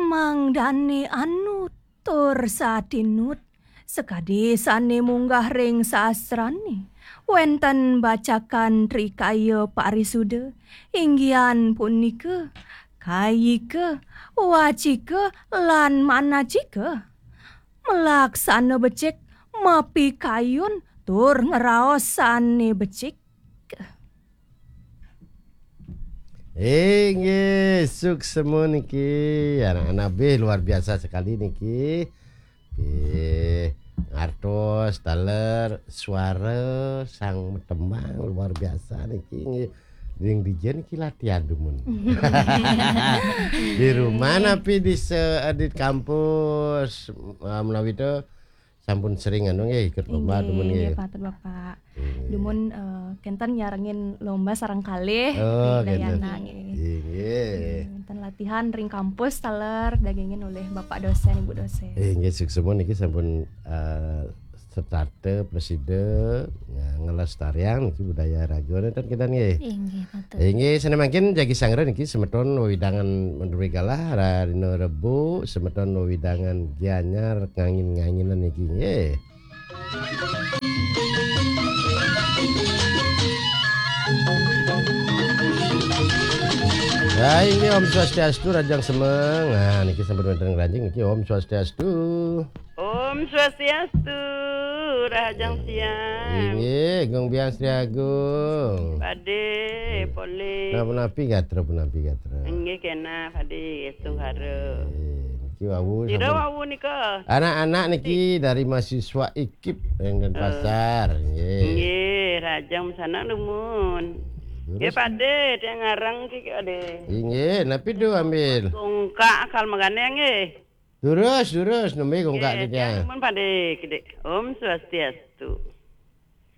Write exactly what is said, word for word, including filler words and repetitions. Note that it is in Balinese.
Mangdane anu tur satinut, sakadi sane munggah ring sastrane, wenten bacakan trikaya parisuda, inggihan punika kayika, wacika, lan manacika. Malaksana becik, mapikayun tur ngraos sane becik. Inggih, suksema niki, anak-anak bih luar biasa sekali niki. Bih, ngartos taler suara sang tembang luar biasa niki. Nggih. Ring dija niki latihan dumun. Di rumah napi di se-, di kampus, eh, menawi to sampun sering anu nggih ikut lomba dumun nggih. Inggih, patut Bapak. Dumun, eh, kenten nyarengin lomba sareng kalih. Oh, ring kenten. Dayana nggih. Inggih. Wenten latihan ring kampus taler dagingin olih Bapak dosen, Ibu dosen. Inggih, suksema niki sampun, eh, setata presida, ya, ngelestariang niki budaya raga nenten kita nggih. Inggih, patut. Inggih, sane mangkin jagi sangra niki semeton wewidangan Madura galah, rarina Rebo, semeton wewidangan Gianyar ngangin-nganginan niki nggih. Hai, ini Om Swastiastu, Rajang Semeng. Nah, niki sampun wenten ngranjing niki, Om Swastiastu. Om Swastiastu, Rahajang Siang. Inggih, Gung Biang Sri Agung. Pade, polih. Nah, punapi gatra, punapi gatra. Inggih, kena, Pade, Tunggara. Inggih, niki wau. Sira sampun wau nika? Anak-anak niki dari mahasiswa ikip ring Denpasar. Nggih. Nggih, Rahajang sana dumun. Nggih, Pade, tiang ngarang ki, Pade. Inggih, napi tu ambil? Gongkak kal magane nggih. Durus, durus, nembe gongkak. Nggih, tiang dumun, Pade, kidik. Om Swastiastu.